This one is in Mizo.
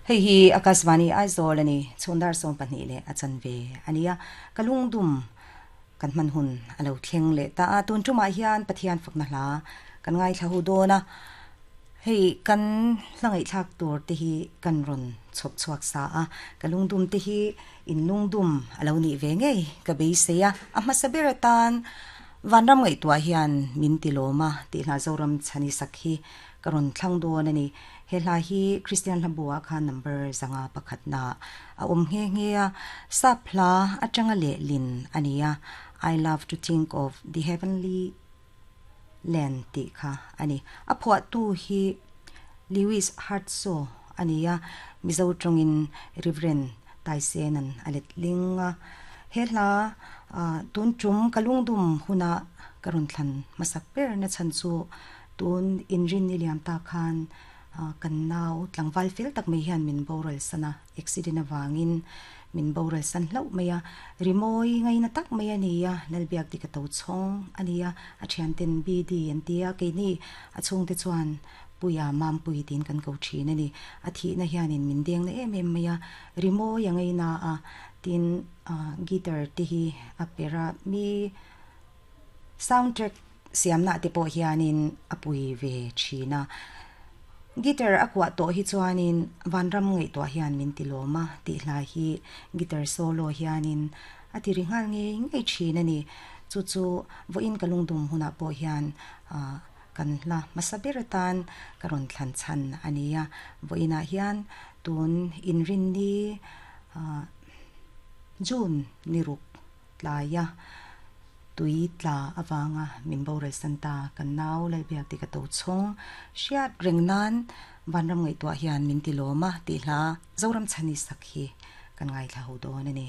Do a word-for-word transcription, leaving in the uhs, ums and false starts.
Hei hi Akashvani Aizawl ani chhundar som pahnih leh a chanve ania kalungdum kan man hun alo thleng leh ta a tun tumah hian Pathian fakna hla kan ngai thla hu dawna hei kan hlangai thlak tur te hi kan ron chhop chhuak sa a kalungdum te hi in lungdum alo ni ve ngei ka beiseia a hmasa ber atan vanram ngai tua hian min ti lawma ti hla Zoram chhani sakhi karon thlang dawn ani he hla hi Christian hlabua kha number zanga pakhat na a um nge nge a sap hla atanga le lin ania I love to think of the heavenly land ti kha ani a phua tu hi Lewis Hartso ania mizo tongin Reverend Taisenan alet linga he hla tun tum kalungdum huna karun thlan masak ber na chan chu tun inrin ni liam ta khan kan nau tlangwal fel tak mai hian min boral sana accident awangin min boral san hlau maia rimoi ngai na tak mai ania lalbiak ti ka to chong ania a thian ten bd an tia ke ni a chung te chuan puya mam pui tin kan ko thin ani a thi na hianin min deng na em em maia rimoi angai na a tin guitar te hi a pera mi soundtrack siamna te pawh hianin a pui ve thina guitar akwa to hi chuanin vanram ngai to hian min ti lawma ti hla hi guitar solo hianin a ti ringal nge ngei thin ani chu chu voin kalungdum huna pawh hian a kan hla masabir tan karon thlan chan ania voina hian tun inrin ni a June niruk tlaya tui tla awanga min boral santa kan nau lalbiak ti ka to chhong hriat rengnan vanram ngai tua hian min ti lawma ti hla Zoram chhani sakhi kan ngai thla ho dawn ani.